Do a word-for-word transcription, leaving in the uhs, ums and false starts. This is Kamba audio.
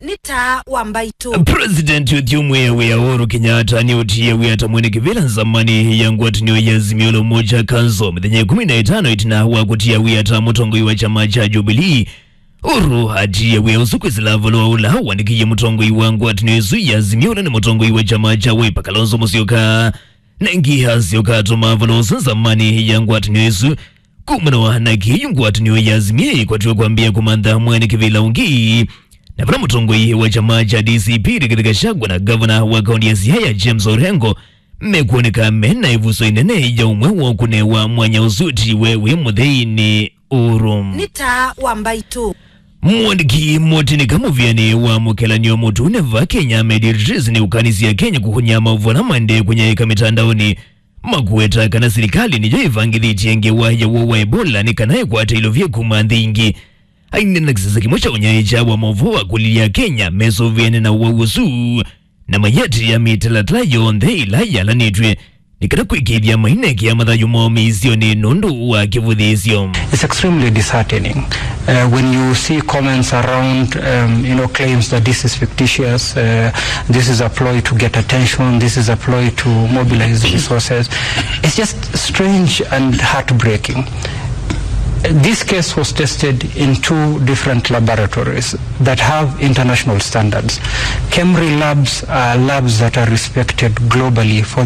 Nĩ taa wa mbaitũ. President ũthyũmũe wĩa Uhuru Kenyatta nĩũtie wĩa ta mwene kĩvĩla nzamani ya ngwatanĩo ya Azimio la Umoja Council mĩthenya ĩkũmi na ĩtano ĩtina wa kũtia wĩa ta mũtongoi wa kyama kya Jubilee. Uhuru atie wĩa ũsu kwĩsĩla valũa ũla wandĩkĩie mũtongoi wa ngwatanĩo ĩsu ya Azimio, ũla nĩ mũtongoi wa kyama kya Wiper, Kalonzo Musyoka. Na ĩngĩ asyoka atũma valũa ũsu nzamani ya ngwatanĩo ĩsu. Kumana na kĩu, ngwatanĩo ya Azimio ĩkwatiwe kwambĩĩa kũmantha mwene kĩvĩla ũngĩ, na vala mũtongoi wa kyama kya D C P Rigathi Gachagua na ngavana wa kaunti ya Siaya James Orengo mekwoneka mena ĩvuso ĩnene ya ũmwe wa kũnewa mwanya ũsu ũtiwe wĩ mũthei nĩ Uhuru. Nĩ taa wa mbaitũ. Mwandĩki mũtĩnĩka mũvĩanĩ wa mũkelanĩo mũtune va Kenya, Ahmed Idris, nĩũkanisye Akenya kũkũnya maũvoo ala maendee kũnyaĩĩka mĩtandaonĩ, makweta kana silikalĩ nĩyo ĩvangĩthĩtye ngewa ya woo wa Ebola nĩ kana ĩkwate ilovia kuma nthĩ ingĩ. Aineena kĩsese kĩmwe kya ũnyaĩĩkya wa maũvoo akũlilye Akenya mesũvĩane na ũwau ũsu, na mayĩatĩĩa mĩtalatala yonthe ĩla yalanĩtw'e nĩ kana kwĩkĩĩthya mainekea mathayũ moo mĩisyonĩ nũndũ wa kĩvũthĩĩsyo. It's extremely disheartening, uh, when you see comments around, um, you know, claims that this is fictitious, uh, this is a ploy to get attention, this is a ploy to mobilize resources. It's just strange and heartbreaking. This case was tested in two different laboratories that have international standards. KEMRI labs are labs that are respected globally for